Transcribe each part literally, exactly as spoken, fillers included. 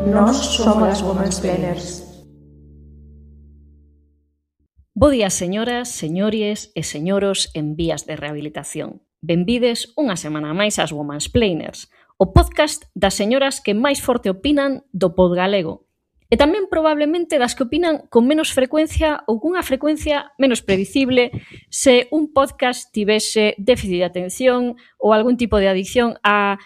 Nós somos as Womansplainers. Bo día, señoras, señores e señoros en vías de rehabilitación. Benvides unha semana máis ás Womansplainers, o podcast das señoras que máis forte opinan do pod galego. E tamén probablemente das que opinan con menos frecuencia ou cunha frecuencia menos predicible se un podcast tivese déficit de atención ou algún tipo de adicción á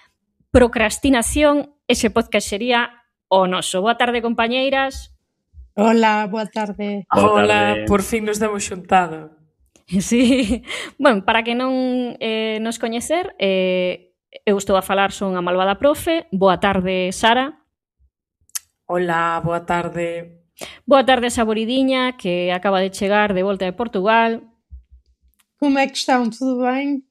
procrastinación, ese podcast sería o noso. Boa tarde, compañeiras. Hola, boa tarde. Boa Hola, tarde. por fin nos damos xuntado. Sí, bueno, para que non eh, nos coñecer, eh, eu estou a falar, son a malvada profe. Boa tarde, Sara. Hola, boa tarde. Boa tarde, Saboridiña, que acaba de chegar de volta de Portugal. Como é que estão? Tudo ben?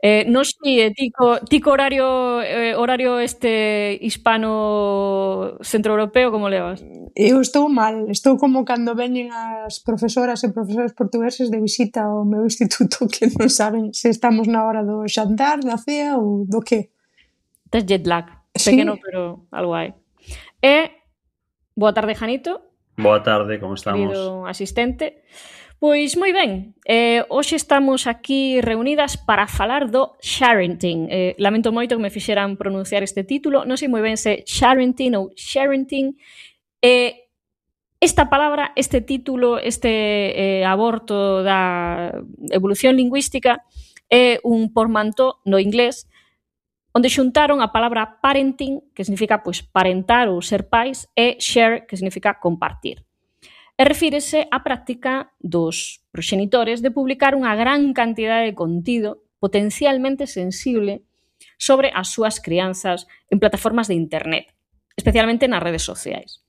Eh, nos si, eh, tico, tico horario eh, horario este hispano centroeuropeo, como levas? Eu estou mal, estou como cando veñen as profesoras e profesores portugueses de visita ao meu instituto que non saben se estamos na hora do xantar, da cea ou do que. Tes jet lag, Sí. pequeno, pero algo hai. E, boa tarde, Janito. Boa tarde, como estamos? Querido asistente. Pois moi ben, eh, hoxe estamos aquí reunidas para falar do sharenting. Eh, lamento moito que me fixeran pronunciar este título, non sei moi ben se sharenting ou sharenting. Eh, esta palabra, este título, este eh, aborto da evolución lingüística é un portmanteau no inglés onde xuntaron a palabra parenting, que significa pois parentar ou ser pais, e share, que significa compartir. E refírese á práctica dos proxenitores de publicar unha gran cantidade de contido potencialmente sensible sobre as súas crianzas en plataformas de internet, especialmente nas redes sociais.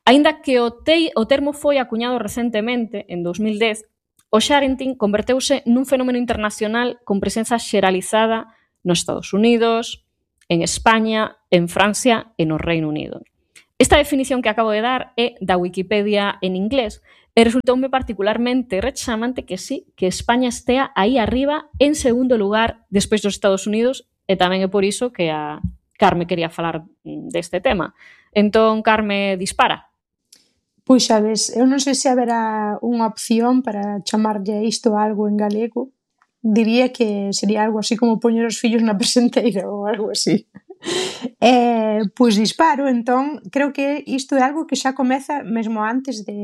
Aínda que o, te, o termo foi acuñado recentemente, en dos mil dez, o sharenting converteuse nun fenómeno internacional con presenza xeralizada nos Estados Unidos, en España, en Francia e no Reino Unido. Esta definición que acabo de dar é da Wikipedia en inglés e resultoume particularmente rechamante que sí, que España estea aí arriba en segundo lugar despois dos Estados Unidos, e tamén é por iso que a Carme quería falar deste tema. Entón, Carme, dispara. Pois sabes, eu non sei se haberá unha opción para chamarlle a isto algo en galego. Diría que sería algo así como poñer os fillos na presenteira ou algo así. Eh, pois disparo, entón creo que isto é algo que xa comeza mesmo antes de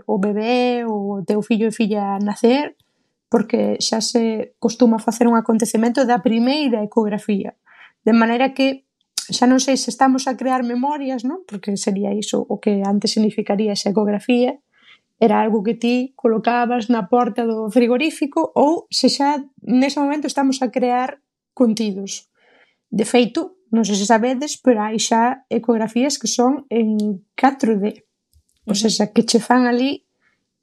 o bebé ou o teu fillo e filla nacer, porque xa se costuma facer un acontecemento da primeira ecografía, de maneira que xa non sei se estamos a crear memorias, non? Porque sería iso o que antes significaría esa ecografía, era algo que ti colocabas na porta do frigorífico, ou se xa nese momento estamos a crear contidos. De feito, non sei se sabedes, pero hai xa ecografías que son en catro D. O sea, que che fan ali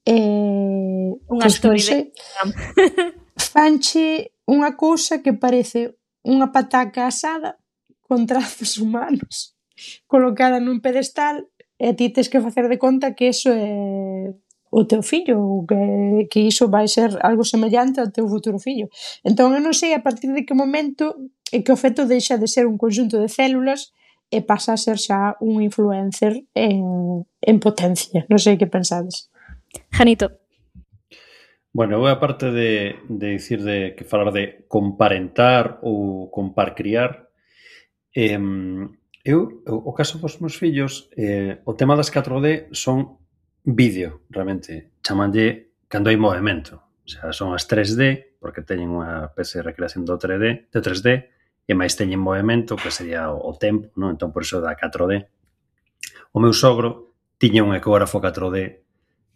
eh, Unha pois, non story sei, de... fanche unha cousa que parece unha pataca asada con trazos humanos colocada nun pedestal e ti tes que facer de conta que eso é o teu fillo ou que, que iso vai ser algo semellante ao teu futuro fillo. Entón eu non sei a partir de que momento é que o feto deixa de ser un conxunto de células e pasa a ser xa un influencer en, en potencia. Non sei que pensades. Janito. Bueno, eu aparte de, de dicir de que falar de comparentar ou comparcriar, eh, eu, o caso dos meus fillos, eh, o tema das catro D son vídeo, realmente. Chamanlle cando hai movimento. O sea, son as tres D, porque teñen unha especie de recreación do tres D, do tres D, e máis teñen movimento, que sería o, o tempo, non? Entón, por iso da catro D. O meu sogro tiña un ecógrafo catro D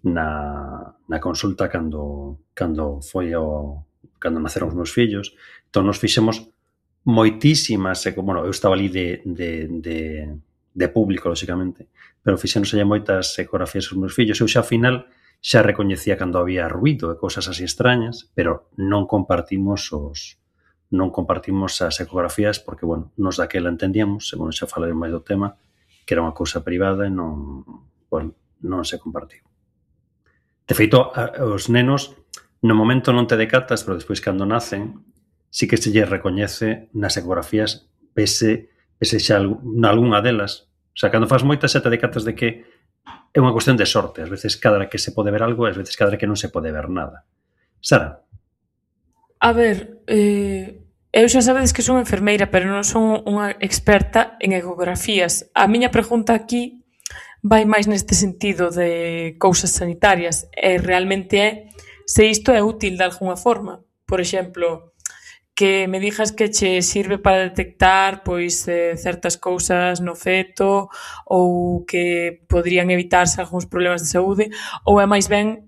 na, na consulta cando, cando foi o, cando naceron os meus fillos. Entón, nos fixemos moitísimas, bueno, eu estaba ali de, de, de, de público, lóxicamente, pero fixéronse moitas ecografías aos meus fillos. Eu xa, ao final, xa recoñecía cando había ruido e cousas así extrañas, pero non compartimos os non compartimos as ecografías porque, bueno, nos daquela entendíamos, e, bueno, xa falarei máis do tema, que era unha cousa privada e non, bueno, non se compartiu. De feito, os nenos no momento non te decatas, pero despois cando nacen, sí que se lle recoñece nas ecografías, pese, pese xa nalgúnha delas, O sea, cando faz moitas xa te decatas de que é unha cuestión de sorte. Ás veces cada que se pode ver algo, ás veces cada que non se pode ver nada. Sara? A ver, eh, eu xa sabedes que son enfermeira, pero non son unha experta en ecografías. A miña pregunta aquí vai máis neste sentido de cousas sanitarias. E realmente é se isto é útil de alguna forma. Por exemplo, que me dixas que che sirve para detectar pois eh, certas cousas no feto ou que poderían evitarse algúns problemas de saúde, ou é máis ben,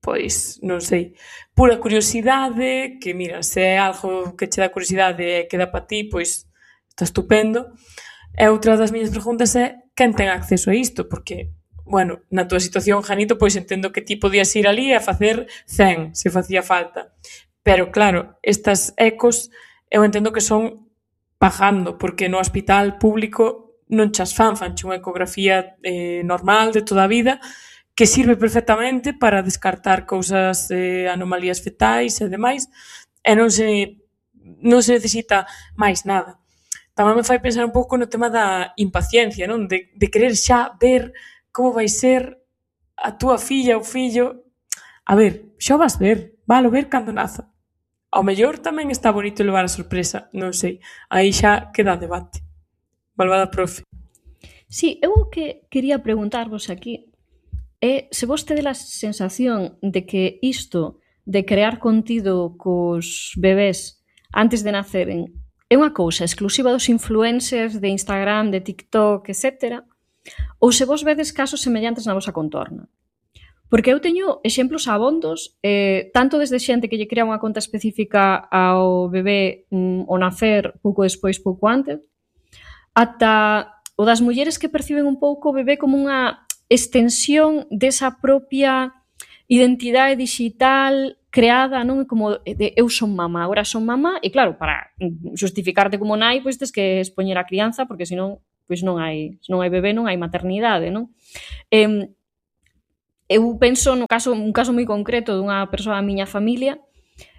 pois, non sei, pura curiosidade, que mira, se é algo que che dá curiosidade e queda para ti, pois está estupendo. E outra das miñas preguntas é quen ten acceso a isto, porque, bueno, na túa situación, Janito, pois entendo que ti podías ir ali a facer cen, se facía falta. Pero, claro, estas ecos eu entendo que son pagando, porque no hospital público non chas fan, fanche unha ecografía eh, normal de toda a vida, que sirve perfectamente para descartar cousas, eh, anomalías fetais e demais, e non se, non se necesita máis nada. Tamén me fai pensar un pouco no tema da impaciencia, non? De, de querer xa ver como vai ser a túa filla ou fillo. A ver, xa o vas ver, valo ver cando naza. Ao mellor tamén está bonito levar a sorpresa, non sei. Aí xa queda debate. Malvada profe. Sí, eu o que quería preguntarvos aquí é se vos tedes a sensación de que isto de crear contido cos bebés antes de naceren é unha cousa exclusiva dos influencers de Instagram, de TikTok, etcétera, ou se vos vedes casos semellantes na vosa contorna. Porque eu teño exemplos abondos, eh, tanto desde xente que lle crea unha conta específica ao bebé mm, ao nacer, pouco despois, pouco antes, ata o das mulleres que perciben un pouco o bebé como unha extensión desa propia identidade digital creada, non? Como de eu son mamá, agora son mamá, e claro, para justificarte como nai, pois tes que expoñer a crianza, porque senón, pois non hai, se non hai bebé, non hai maternidade, non? Eh, Eu penso no caso, un caso moi concreto dunha persoa da miña familia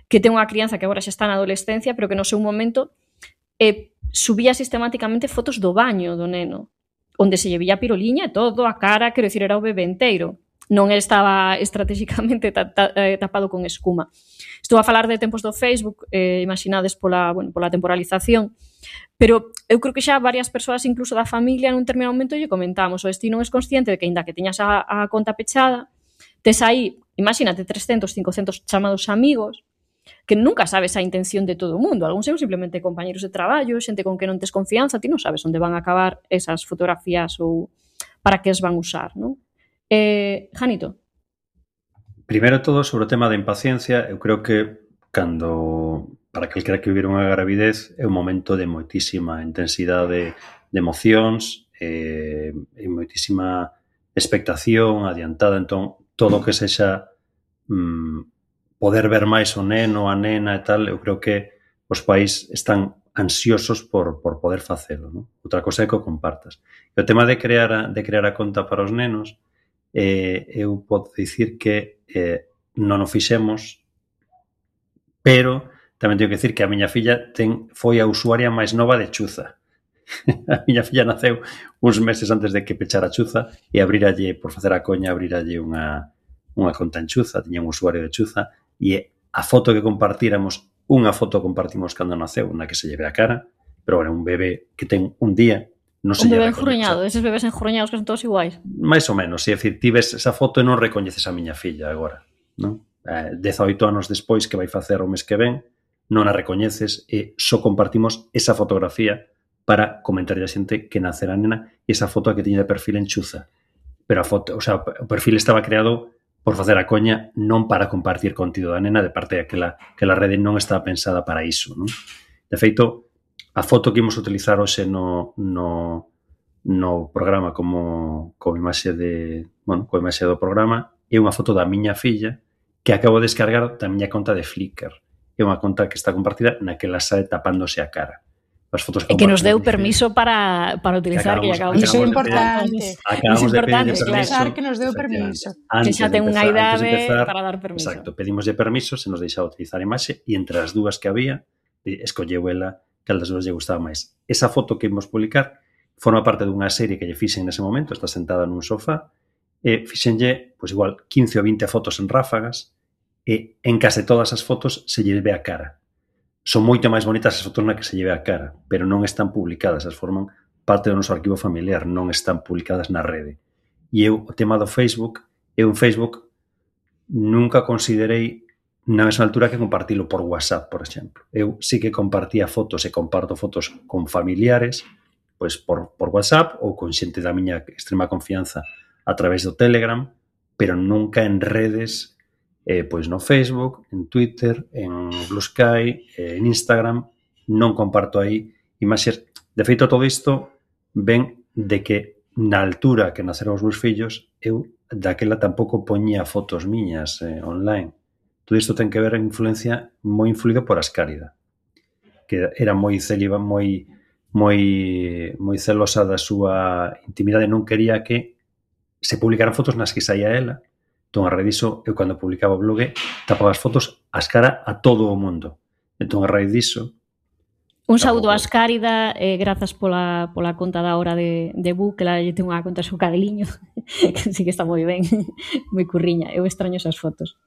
que ten unha crianza que agora xa está na adolescencia, pero que no seu momento eh, subía sistemáticamente fotos do baño do neno, onde se lle vía a piroliña e todo, a cara, quero dicir, era o bebé inteiro. Non estaba estratégicamente ta, ta, eh, tapado con escuma. Estou a falar de tempos do Facebook, eh, imaginades pola, bueno, pola temporalización, pero eu creo que xa varias persoas, incluso da familia, nun terminado momento lle comentamos, o ti non es consciente de que, ainda que teñas a, a conta pechada, tes aí, imagínate, trescentos, cincocentos chamados amigos, que nunca sabes a intención de todo o mundo. Algúns son simplemente compañeros de traballo, xente con que non tes confianza, ti non sabes onde van a acabar esas fotografías ou para que as van usar, non? Eh, Janito. Primeiro todo, sobre o tema da impaciencia, eu creo que cando, para calquera que vivir unha gravidez, é un momento de moitísima intensidade de emocións, eh, e moitísima expectación adiantada, entón, todo o que sexa mm, poder ver máis o neno, a nena e tal, eu creo que os pais están ansiosos por, por poder facelo, non? Outra cosa é que o compartas. E o tema de crear a, de crear a conta para os nenos, eh, eu podo dicir que eh, non o fixemos, pero tamén teño que dicir que a miña filla ten, foi a usuaria máis nova de Chuza. A miña filla naceu uns meses antes de que pechara Chuza e abriralle, por facer a coña, abriralle unha, unha conta en Chuza, tiña un usuario de Chuza, e a foto que compartíramos, unha foto compartimos cando naceu, na que se lle ve a cara, pero era un bebé que ten un día, non se un lle bebé recoñece. enjurruñado, eses bebés enjurruñados que son todos iguais. Mais ou menos, é dicir, ti ves esa foto e non recoñeces a miña filla agora, non? Eh, dezaoito anos despois que vai facer o mes que ven, non a recoñeces e só compartimos esa fotografía para comentar a xente que nacerá a nena e esa foto que tiña de perfil en Chuza. Pero a foto, o sea, o perfil estaba creado por facer a coña, non para compartir contido da nena, de parte de que la, que la rede non estaba pensada para iso, non? De feito, a foto que imos utilizar hoxe no, no, no programa como, como imaxe de, bueno, como imaxe do programa é unha foto da miña filla que acabo de descargar da miña conta de Flickr. É unha conta que está compartida na que la sae tapándose a cara. As fotos e que nos deu permiso para, para utilizar, que, acabamos, que acabamos, iso é importante. Acabamos de pedirle permiso. Que nos deu permiso. Que xa ten unha idade para dar permiso. Exacto, pedimoslle permiso, se nos deixaba utilizar a imaxe, e entre as dúas que había, escolleu ela cal das dúas lle gustaba máis. Esa foto que imos publicar forma parte dunha serie que lle fixen nese momento, está sentada nun sofá, e fixenlle, pois igual, quince ou vinte fotos en ráfagas, e en case todas as fotos se lle ve a cara. Son moito máis bonitas as fotos na que se lle ve a cara, pero non están publicadas, as forman parte do noso arquivo familiar, non están publicadas na rede. E eu, o tema do Facebook, eu en Facebook nunca considerei na mesma altura que compartilo por WhatsApp, por exemplo. Eu sí que compartía fotos e comparto fotos con familiares, pois por, por WhatsApp ou con xente da miña extrema confianza a través do Telegram, pero nunca en redes, eh, pois no Facebook, en Twitter, en Blue Sky, eh, en Instagram, non comparto aí imaxes. De feito, todo isto ven de que na altura que naceron os meus fillos, eu daquela tampouco poñía fotos miñas eh, online. Todo isto ten que ver en influencia moi influído por Ascárida, que era moi céliba, moi moi moi celosa da súa intimidade, non quería que se publicaran fotos nas que saía ela. Entón, a raíz diso, eu cando publicaba o blog tapaba as fotos as cara a todo o mundo. Entón, a raíz diso... Un saúdo a Ascárida, eh, grazas pola, pola conta da hora de, de Bu, que la lle ten unha conta seu cadeliño, que sí que está moi ben, moi curriña. Eu extraño esas fotos.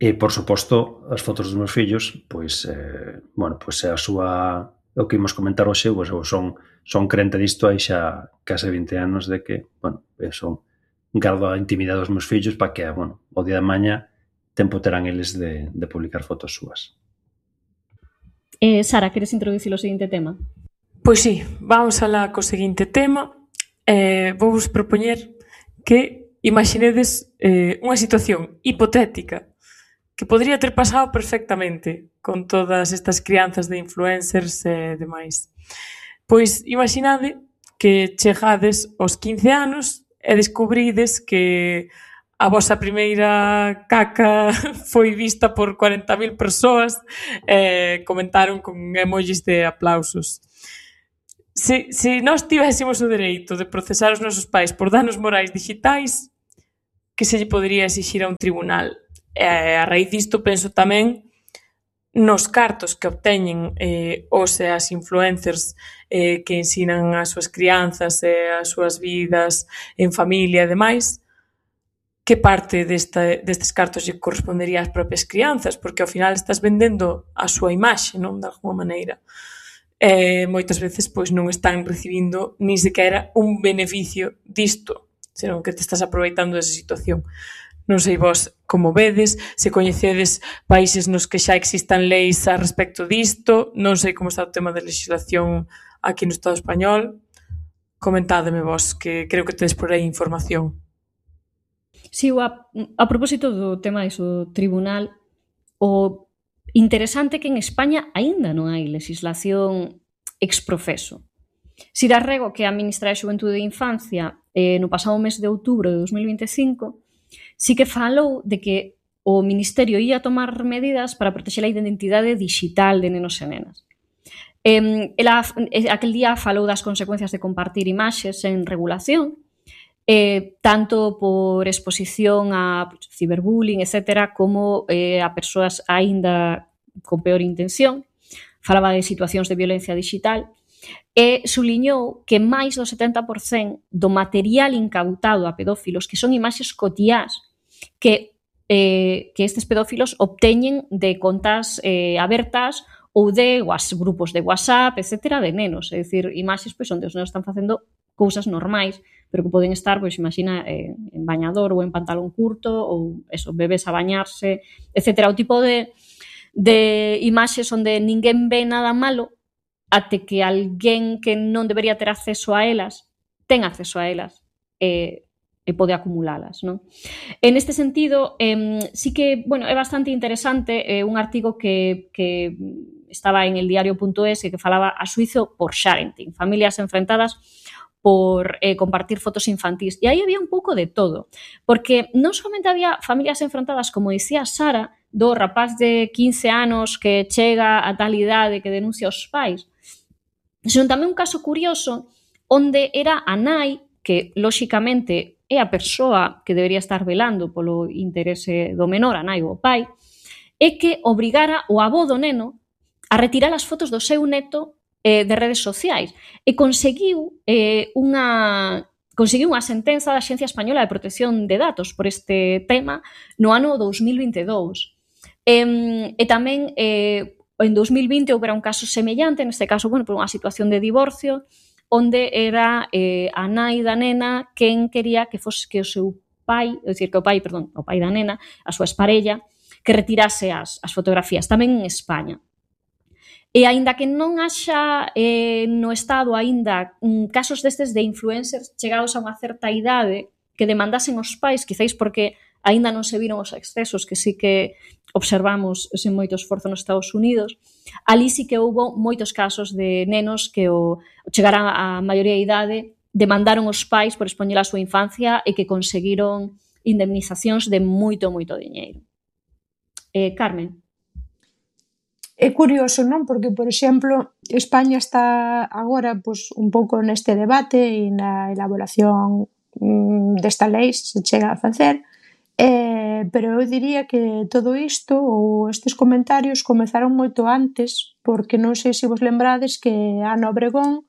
E, por suposto, as fotos dos meus fillos, pois, eh, bueno, pois é a súa... O que imos comentar hoxe, pois, eu son, son crente disto hai xa case vinte anos de que, bueno, son... gardo a intimidade dos meus fillos para que, bueno, o día de maña tempo terán eles de, de publicar fotos súas. Eh, Sara, queres introducir o seguinte tema? Pois sí, vamos alá co seguinte tema. Eh, vou vos propoñer que imaginedes eh, unha situación hipotética que podría ter pasado perfectamente con todas estas crianzas de influencers e demais. Pois imaginade que chegades aos quince anos e descubrides que a vosa primeira caca foi vista por cuarenta mil persoas e comentaron con emojis de aplausos. Se, se nós tivésemos o dereito de procesar os nosos pais por danos morais digitais, que se lle podría exixir a un tribunal? E a raíz disto penso tamén nos cartos que obteñen eh, os e as influencers eh, que ensinan as súas crianzas e as súas vidas en familia e demais, que parte desta, destes cartos lle correspondería ás propias crianzas, porque ao final estás vendendo a súa imaxe, non? De alguma maneira. E moitas veces pois non están recibindo ni sequera un beneficio disto, senón que te estás aproveitando desa situación. Non sei vos como vedes, se coñecedes países nos que xa existan leis a respecto disto, non sei como está o tema de legislación aquí no Estado español. Comentádeme vos, que creo que tedes por aí información. Si, sí, a, a propósito do tema do tribunal, o interesante que en España aínda non hai legislación exprofeso. Si dá rego que a ministra de Xuventude e Infancia eh, no pasado mes de outubro de dos mil vinte e cinco sí que falou de que o Ministerio ia tomar medidas para protexer a identidade digital de nenos e nenas. Eh, ela, aquel día falou das consecuencias de compartir imaxes en regulación, eh, tanto por exposición a pues, ciberbullying, etcétera, como eh, a persoas aínda con peor intención. Falaba de situacións de violencia digital e suliñou que máis do setenta por cento do material incautado a pedófilos, que son imaxes cotiás que, eh, que estes pedófilos obteñen de contas eh, abertas ou de was, grupos de WhatsApp, etcétera, de nenos. É dicir, imaxes pois, onde os nenos están facendo cousas normais, pero que poden estar, pois, imagina, eh, en bañador ou en pantalón curto, ou eso, bebés a bañarse, etcétera. O tipo de, de imaxes onde ninguén ve nada malo até que alguén que non debería ter acceso a elas ten acceso a elas e, e pode acumulalas, non? En este sentido, eh, sí que, bueno, é bastante interesante eh, un artigo que, que estaba en el diario punto es que falaba a suizo por sharenting, familias enfrentadas por eh, compartir fotos infantís. E aí había un pouco de todo, porque non somente había familias enfrentadas, como dicía Sara, do rapaz de quince anos que chega a tal idade que denuncia aos pais, senón tamén un caso curioso onde era a nai, que lóxicamente é a persoa que debería estar velando polo interese do menor, a nai ou o pai, e que obrigara o avó do neno a retirar as fotos do seu neto eh, de redes sociais e conseguiu eh, unha conseguiu unha sentenza da Axencia Española de Protección de Datos por este tema no ano dous mil vinte e dous. E, e tamén eh, en dous mil vinte houbera un caso semellante, neste caso, bueno, por unha situación de divorcio, onde era eh, a nai da nena quen quería que fose que o seu pai, é dicir, que o pai, perdón, o pai da nena, a súa esparella, que retirase as, as fotografías, tamén en España. E aínda que non haxa eh, no Estado aínda mm, casos destes de influencers chegados a unha certa idade que demandasen os pais, quizáis porque aínda non se viron os excesos que sí que observamos sen moito esforzo nos Estados Unidos, ali sí que houbo moitos casos de nenos que o chegaran a maioría de idade demandaron os pais por expoñer a súa infancia e que conseguiron indemnizacións de moito, moito diñeiro. Eh, Carmen. É curioso, non? Porque, por exemplo, España está agora pois, un pouco neste debate e na elaboración mm, desta lei, se se chega a facer, eh, pero eu diría que todo isto ou estes comentarios comezaron moito antes, porque non sei se vos lembrades que Ana Obregón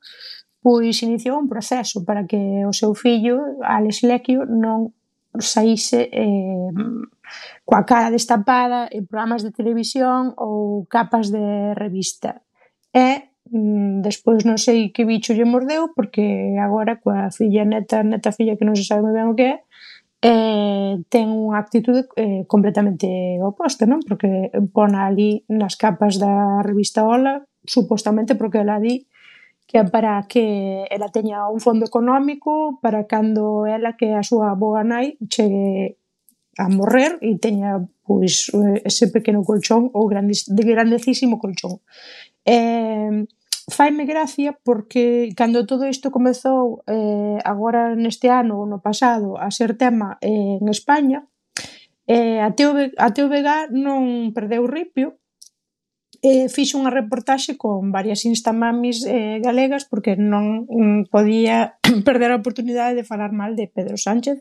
pois iniciou un proceso para que o seu fillo, Álex Lecquio, non saíse eh, coa cara destapada en programas de televisión ou capas de revista. E mm, despois non sei que bicho lle mordeu, porque agora coa filla neta, neta filla que non se sabe moi ben o que é, eh, ten unha actitude eh, completamente oposta, non? Porque pon ali nas capas da revista Ola, supostamente porque ela di que é para que ela teña un fondo económico para cando ela, que é a súa boa nai, chegue a morrer e teña pois ese pequeno colchón ou grandis, de grandecísimo colchón. Eh, faime gracia porque cando todo isto comezou eh, agora neste ano ou no pasado a ser tema eh, en España, eh, a, T V, a T V G non perdeu ripio e fixo unha reportaxe con varias instamamis eh, galegas porque non mm, podía perder a oportunidade de falar mal de Pedro Sánchez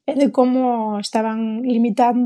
e de como estaban limitando